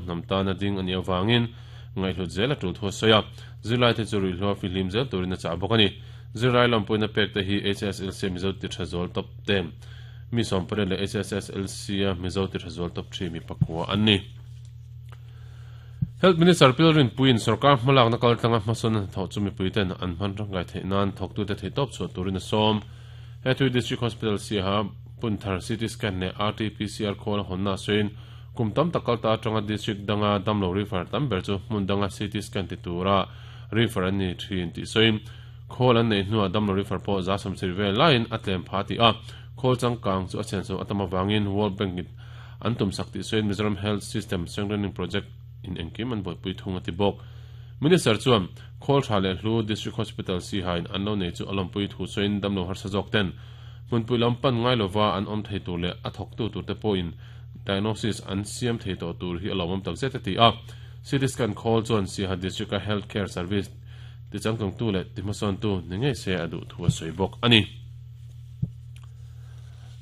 Hnam tana ding a nih avangin ngaihhlut zel a tul thu a sawi a, zirlaite chu ruihhlo a fihlim zel turin a chah bawk a ni. Zirlai lawmpuina pek te hi HSLC a Mizo ti tha zual tawp te, mi 18 leh HSSLC a Mizo ti tha zual tawp thi mi pakua an ni. Health Minister Pil Rinpuiin sorkar hmalakna kaltlanga hmasawnna hnathawh chu mipuiten an hman tangkai theih nan thawktute theihtawp chhuah turin a sawm. Hetui District Hospital Siaha Punthar CT Scan leh RT-PCR khawl a hawnna a sawiin Kum tam tak kalta atanga district danga damlo refer tam ber chu hmun danga CT scan ti tura refer an ni thin tih sawiin khawl an neih hnuah damlo refer pawh za sawmsarih vel laiin a tlem pha tih a, khawl changkang chu a chhenchho a tam avangin World Bank in an tumsak tih sawiin Mizoram Health System Strengthening Project in engkim an buaipui thung a ti bawk. Minister chuan khawl tha leh hlu District Hospital Siha in an lo nei chu a lawmpui thu sawiin damlo harsa zawk ten hmunpui lam pan ngai lova an awm thei tur leh a thawktu turte pawhin Diagnosis an siam thei tawh tur hi a lawmawm tak zet a ti a. CT scan khawl chuan Siaha District-a Health Care Service tichangtlungtu leh tihmasawntu ni ngei se a duh thu a sawi bawk a ni.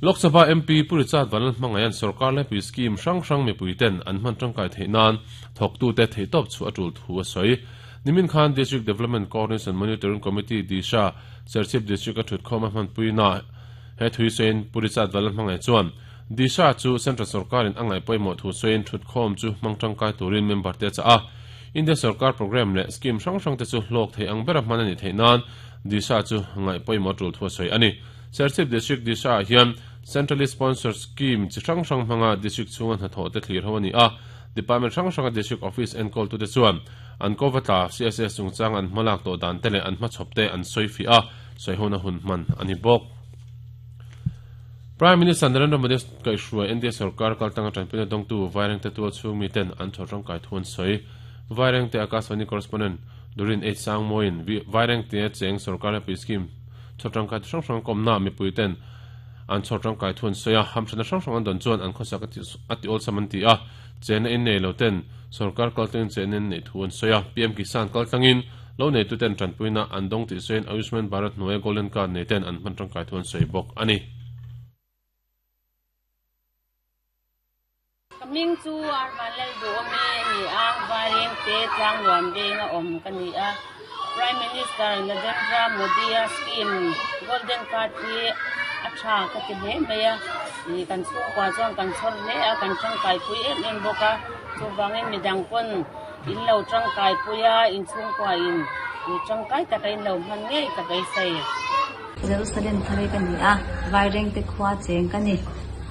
Lok Sabha MP Pu Richard Vanlalhmangaia'n sorkar lepui scheme hrang hrang mipuiten an hman tangkai theih nan thawktute theihtawp chhuah a tul thu a sawi. Nimin khan District Development Coordination Monitoring Committee, DISHA, Serchhip District-a thutkhawm a hmanpuina he thui sawiin Pu Richard Vanlalhmangai chuan Disha chu Central sorkarin a ngaih pawimawh thu sawiin thutkhawm chu hmang tangkai turin member te a chah a. India sorkar programme leh scheme hrang hrang te chu hlawk thei ang bera hman a nih theih nan Disha chu ngaih pawimawh tul thu a sawi a ni. Serchhip District Disha ah hian Centrally Sponsored Scheme chi hrang hrang hmanga District chhunga hnathawh te thlir ho a ni a. Department hrang hranga District Office enkawltute chuan an kova tla CSS chungchang an hmalak tawh dan te leh an hmachhawp te an sawi fiah a, sawihona hun hman a ni bawk. Prime Minister Narendra Modi kaihhruai India sorkar kaltanga tanpuina dawngtu Vairengte tual chhung miten an chhawr tangkai thu an sawi. Vairengte Akashvani Correspondent Durin H Sangmawiin Vairengte cheng sorkar lepui scheme chhawr tangkai hrang hrang kawmna mipuiten an chhawr tangkai thu an sawi a, hamthatna hrang hrang an dawn chuan an khawsak a ti awlsam an ti a, chenna in nei lo ten sorkar kaltlangin chenna in neih thu an sawi a, PM Kisan kaltlangin Lo neituten tanpuina an dawng tih sawiin Ayushman Bharat hnuaia Golden Card neiten an hman tangkai thu an sawi bawk a ni. Ka hming chu Arvan Lalduhawmi a ni a, Vairengte Tlangnuam venga awm ka ni a. Prime Minister Narendra Modi-a scheme Golden Card hi a tha ka ti hle mai a, kan chhungkua chuan kan chhawr hle a, kan tangkaipui em em bawk a, chuvangin midang pawn In lo tangkai pui a, in chhungkua in tangkai taka in lo hman ngei ka beisei. Jerusalem thar ka ni a, Vairengte khua cheng ka ni.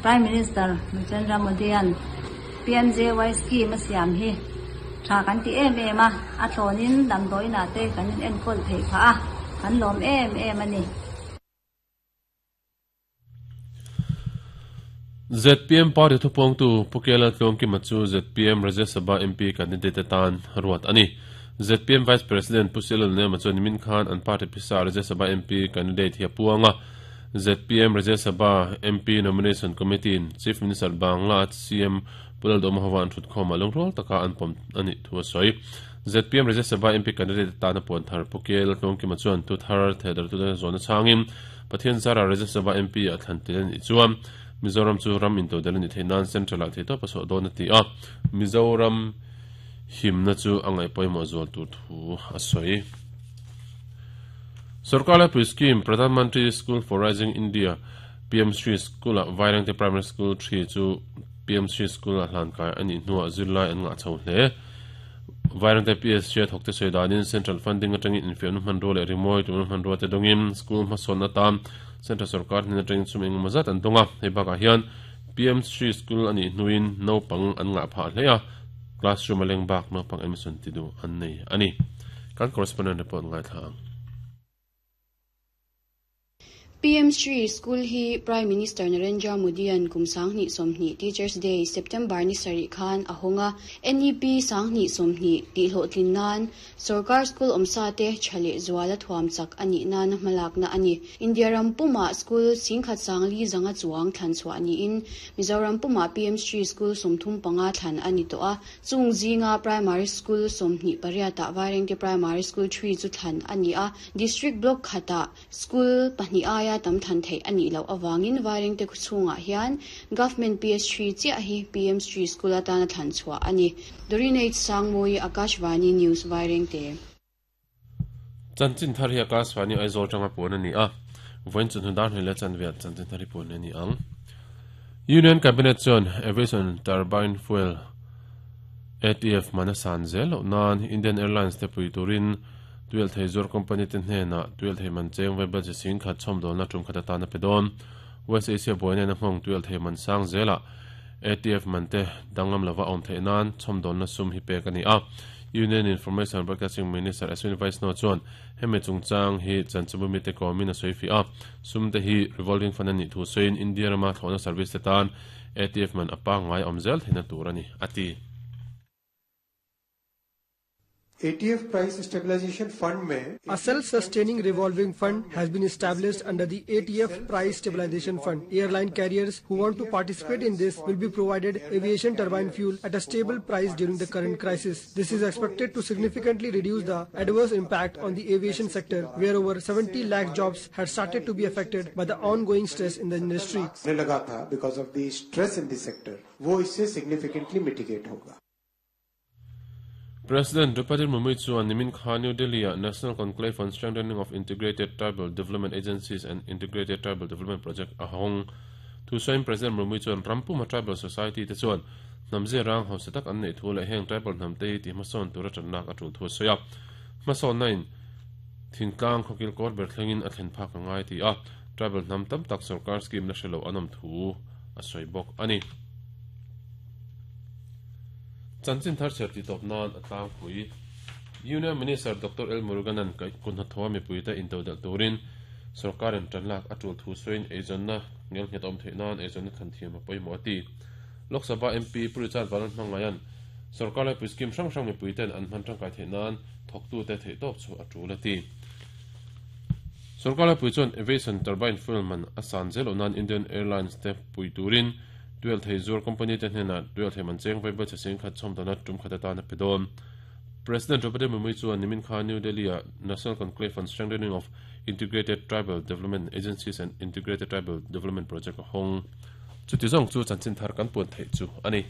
Prime Minister Narendra Modi-a'n PMJY scheme a siam hi tha kan ti em em a, a thlawnin damdawiinah te kan in enkawl theih phah a, kan lawm em em a ni. Zpm party thupawngtu Pu Kela Tluangkima chu zpm Rajya Sabha MP candidate atan ruat a ni. Zpm Vice President Pu Silal Nema chuan nimin khan an party phisa Rajya Sabha MP candidate hi a puang a. Zpm Rajya Sabha MP Nomination Committee in Chief Minister Bangla CM Pu Lalduhoma hova an thutkhawmah lungrual taka an pawm a nih thu a sawi. Zpm Rajya Sabha MP candidate atana puan thar Pu Kela Tluangkima chuan thu thar thehdarhtute zawhna chhangin Pathian zara Rajya Sabha MP ah thlan tel a nih chuan Mizoram chu ram intodelh a nih theih nan Central ah theihtawp a chhuah dawn a ti a, Mizoram himna chu a ngaih pawimawh zual tur thu a sawi. Sorkar laipui scheme Pradhan Mantri School for Rising India, PM Shri School ah Vairengte Primary School 3 chu PM Shri School ah hlankai a nih hnuah zirlai an ngah chho hle. Vairengte PSG a thawkte sawi danin Central Funding atangin infiamna hmanrua leh rimawi tumna hmanrua te dawngin school hmasawnna atan Central Sorkar hnen atangin sum engemaw zat an dawng a. Hei bakah hian PM Shri School a nih hnuin naupang an ngah phah hle a, classroom a leng bak naupang admission ti duh an nei a ni. Kan correspondent report ngaithla ang. PM Shri School hi Prime Minister Narendra Modi-a'n kum 2020 Teachers Day, September ni sarih khan a hawng a. NEP 2020 tihhlawhtlin nan sorkar school awmsa te tha leh zuala thuam chak a nih nana hmalakna a ni. India ram pumah school singkhat sangli zanga chuang thlan chhuah niin Mizoram pumah PM Shri School 35 thlan a ni tawh a. Chung zinga Primary School 28 ah Vairengte Primary School 3 chu thlan a ni a. District Block khatah School pahnih aia. aia tam thlan theih a nih loh avangin Vairengte khawchhungah hian Government PS3 chiah hi PM Shri School atana thlan chhuah a ni. Doreen H. Sangmawi, Akashvani News, Vairengte. Chanchin thar hi Akashvani Aizawl tanga puan a ni a, vawiin chawhnu dar hnih leh chanve ah chanchin thar hi puan a ni ang. Union Cabinet chuan Aviation Turbine Fuel, ATF, man a san zel loh nan Indian Airlines te pui turin Tuialthei zuar company te hnenah tuialthei man cheng vaibel chi sing khat chhawmdawlna tum khat atan a pe dawn. West Asia buaina in a nghawng tuialthei man sang zelah ATF man te danglam lova awm theih nan chhawmdawlna sum hi pek a ni a. Union Information and Broadcasting Minister Ashwini Vaishnaw chuan hemi chungchang hi chanchinbu mite kawmin a sawi fih a. Sum te hi revolving fund a nih thu sawiin India rama thlawhna service te tan ATF man a pangngai awm zel theihna tur a ni, a ti. ATF Price Stabilization Fund mein A self-sustaining revolving fund has been established under the ATF Price Stabilization Fund. Airline carriers who want to participate in this will be provided aviation turbine fuel at a stable price during the current crisis. This is expected to significantly reduce the adverse impact on the aviation sector, where over 70 lakh jobs had started to be affected by the ongoing stress in the industry. Because of the stress in the sector, wo isse significantly mitigate hoga. President Draupadi Murmu chuan nimin kha New Delhi-ah National Conclave on Strengthening of Integrated Tribal Development Agencies and Integrated Tribal Development Project a hawng. Thusawiin President Murmu chuan ram puma tribal society te chuan hnam zia rang hausa tak an neih thu leh heng tribal hnam te hi tihhmasawn tura tanlak a tul thu a sawi a. Hmasawnna in thingtlang khawkil kawr ber thlengin a thlen phak a ngai ti a, tribal hnam tam tak sorkar scheme la hre lo an awm thu a sawi bawk a ni. Chanchin thar chhiar tih tawp nan a tlangpui. Union Minister Doctor L Muruganan kuthnathawha mipuite intodelh turin sorkarin tanlak a tul thu sawiin eizawnna ngelnghet a awm theih nan eizawnna thlan thiam a pawimawh a ti. Lok Sabha MP Pu Richard Vanlalhmangaia'n sorkar laipui scheme hrang hrang mipuiten an hman tangkai theih nan thawktute theihtawp chu a tul a ti. Sorkar laipui chuan aviation turbine fuel man a san zel loh nan Indian Airlines te pui turin Tuialthei zuar company te hnenah tuialthei man cheng vaibel chhe sing khat chhawmdawna tum khat atan a pe dawn. President Draupadi Murmu chuan nimin kha New Delhi-ah National Conclave on Strengthening of Integrated Tribal Development Agencies and Integrated Tribal Development Project a hawng. Chuti zawng chu chanchin thar kan puan theih chu a ni.